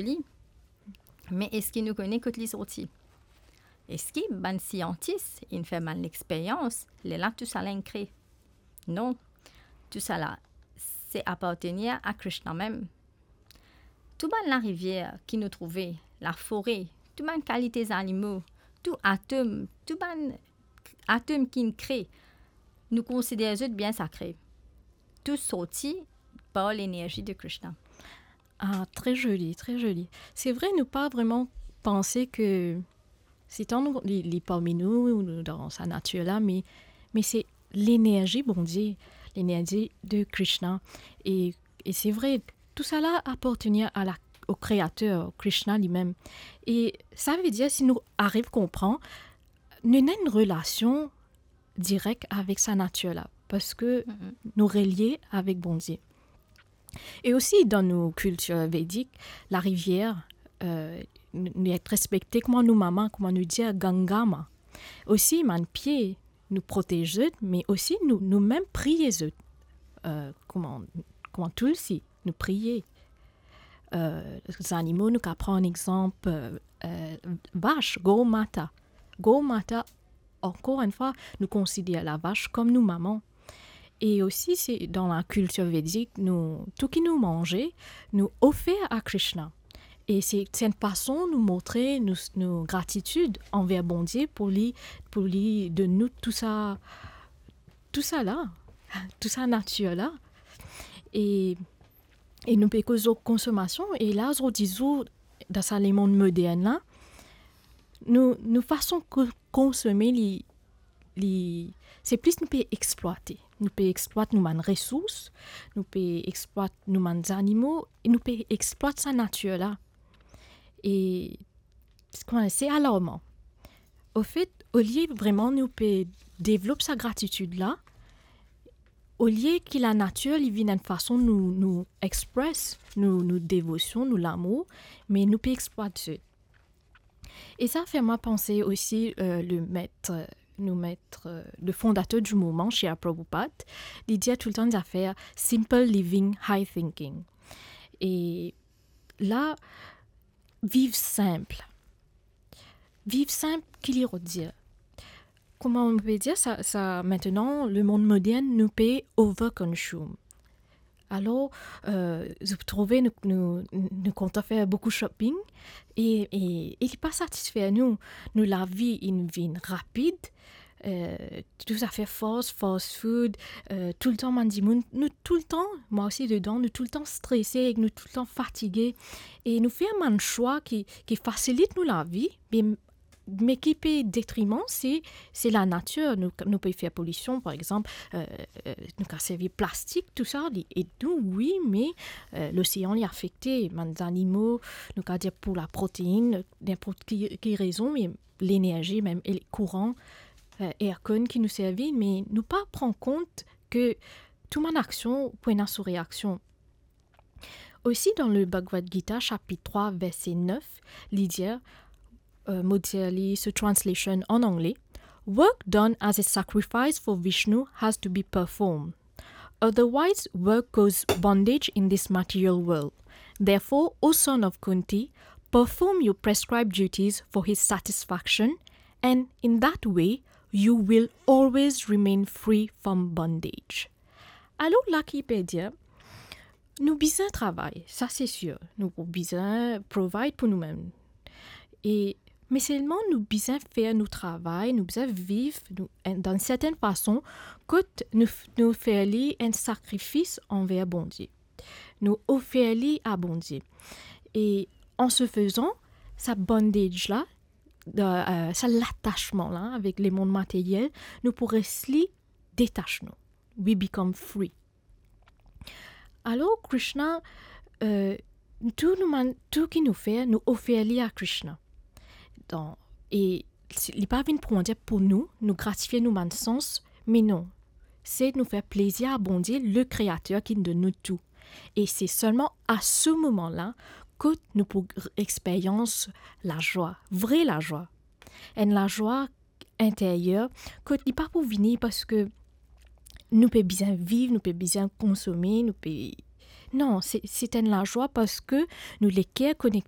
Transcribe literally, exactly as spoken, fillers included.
li, me eski nou kone kot li sorti? Eski bann siantis inn fer bann lexperyans, lerla tousala inn kre? Non, tousala se apartenir a Krishna mem. Tou bann larivier ki nou trouve, lafore, tou bann kalite zanimo, tou atom, tou bann atom ki'nn kre, nou konsider zot bien sakre. Tou sorti par lenerzi de Krishna. Ah, très joli, très joli. Se vre, nou pa vreman panse ke Satan, nou, li, li parmi nou, nou dan sa natir la, me, me se lenerzi Bondie, lenerzi de Krishna. E, e se vre, tousala apartenir a la, o Kreater, Krishna limem. E sa ve dir, si nou ariv konpran, nou ena enn relasion direk avek sa natir la, parski nou relie avek Bondie. E osi, dan nou kiltir vedik, larivier, eh, nou, nou respekte kouma nou mama, kouma nou dir Ganga ma. Osi, bann pie, nou protez zot, me osi nou, nou mem priye zot. Eh, kouma, kouma Tulsi, nou priye. Eh, zanimo, nou kapav pran exanp, eh, eh, vas, Gau Mata. Gau Mata, ankor enn fwa, nou konsider lavas kom nou mama. E osi, se dan lakiltir vedik, nou, tou ki nou manze, nou ofer a Krishna. E se, se enn fason nou montre nou, nou gratitid anver Bondie pou li, pou li donn nou tou sa, tou sa la, tou sa natir la. E, e nou pe koz lor konsomasion, e la, zordi zour, dan sa lemond modern la, nou, nou fason ko-, konsome li, li, se plis nou pe explwate. Nou pe explwat nou bann resours, nou pe explwat nou bann zanimo, e nou pe explwat sa natir la. E, kouma, se alarman. Anfet, olie vreman nou pe devlop sa gratitid la, olie ki lanatir li vinn enn fason nou, nou express nou, nou devosion, nou lamour, me nou pe explwat zot. E sa fer mwa panse osi, eh, le maître, nou maître, eh, le fondateur du mouvement, Srila Prabhupada, li dir toultan zafer simple living, high thinking. E la, viv sinp. Viv sinp, ki li rod dir? Kouma nou pe dir sa, sa, aster, lemond modern, nou pe overconsume. Alor, eh, zot trouve nou, nou, nou kontan fer boukou shopping e, e, e li pa satisfer nou. Nou lavi inn vinn rapid, eh, tou zafer fast, fast food, eh, toultan bann dimoun, nou toultan, mwa osi dedan, nou toultan strese ek nou toultan fatige. E nou fer bann swa ki, ki fasilit nou lavi, me me ki pe detriman, se, se lanatir. Nou, nou pe fer polision, par exanp, eh, eh, nou kapav servi plastik, tou sa, li ed nou, wi, me, eh, losean, li afekte, bann zanimo, nou kapav dir pou laprotein, ninport ki, ki rezon, me lenerzi, mem, e kouran, eh, aircon ki nou servi, me nou pa pran kont ke tou bann aksion pou ena so reaksion. Osi, dan le Bhagavad Gita, sapit trwa, verse nef, li dir, eh, mo dir li so translation an angle, "Work done as a sacrifice for Vishnu has to be performed. Otherwise, work causes bondage in this material world. Therefore, O son of Kunti, perform your prescribed duties for his satisfaction, and in that way, you will always remain free from bondage." Alor la ki pe dir, nou bizin travay, sa se sir. Nou pou bizin provide pou noumem. E, me selman nou bizin fer nou travay, nou bizin viv, nou, enn, dan enn sertenn fason, kot nou f-, nou fer li enn sakrifis anver Bondie. Nou ofer li a Bondie. E, an se fezan, sa bondage la, de, eh, sa latasman la avek lemond materyel, nou pou les li detas nou. We become free. Alor, Krishna, eh, tou nou bann, tou ki nou fer, nou ofer li a Krishna. Dan, e si, li pa vinn pou, dir, pou nou, nou gratifie nou bann sans, me non. Se nou fer plezir a Bondie, le Kreater ki donn nou tou. E se selman a se moman la kot nou pou r-, experyans lazwa, vre lazwa. Enn lazwa interyer, kot li pa pou vini parski nou pe bizin viv, nou pe bizin konsome, nou pe, Non, se, se enn lazwa parski nou leker konekte